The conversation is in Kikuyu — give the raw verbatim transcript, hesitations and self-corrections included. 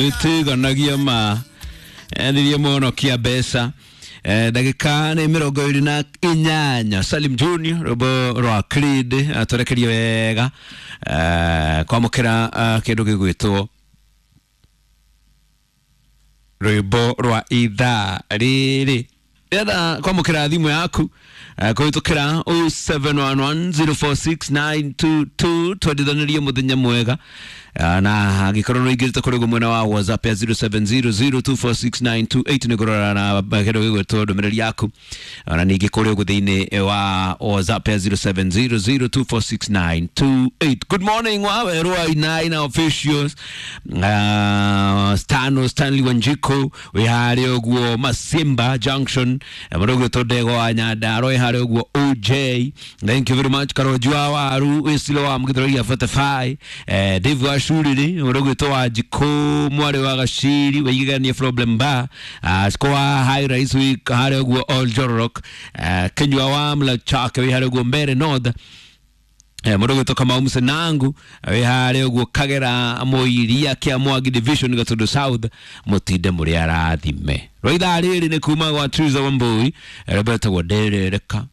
Ĩtiganagia ma endirie mũhonokia mbeca. Eh, ndagĩka nĩ mĩrongo ĩrĩ na inyanya. Salim Junior, rwĩmbo rwa Creed atũrekerie wega. Eh, kwamũkĩra eh, kĩndũ gĩgwĩtwo rwĩmbo rwa ithaa rĩrĩ. Ndĩrenda kwamũkĩra thimũ yaku eh, kũhĩtũkĩra zero seven one one zero four six nine two two, twendithanirie mũthenya mwega. Eh, na angĩkorwo nĩ ũingĩrĩte kũrĩ ũguo mwena wa WhatsApp ya zero seven zero zero two four six nine two eight, nĩ ngũrora na kĩndũ gĩgwĩtwo ndũmĩrĩri yaku. Ona ningĩ kũrĩ ũguo thĩinĩ wa WhatsApp ya zero seven zero zero two four six nine two eight. Good morning wawerũ wa Inaina officials, uh, Stano Stanley Wanjiko wĩ harĩa ũguo Masimba Junction, mũndũ ũgwĩtwo Ndego wa Nyandarua wĩ harĩa ũguo O J, thank you very much. Karonji wa Waru wĩcilo wa Mũgithũraia mĩrongo ĩnana na ithano, eh, Dave wa Shuriri, mũndũ ũgwĩtwo wa Njikũ mwarĩ wa Gaciri waigigania problem bar, uh, Siko wa High Rise wĩ harĩa ũguo Old Jororok, uh, Kinyua wa Mlachake wĩ harĩa ũguo Mbere North, Eh, mũndũ ũgwĩtwo Kamau Mũcenangu wĩ harĩa ũguo Kagera Mũiria kĩa Mwangi Division, Gatũndũ South. Mũtinde mũrĩ arathime. Rwa ithaa rĩrĩ nĩ kuma gwa Triza Wambui, rwĩmbo rwĩtagwo Nderereka.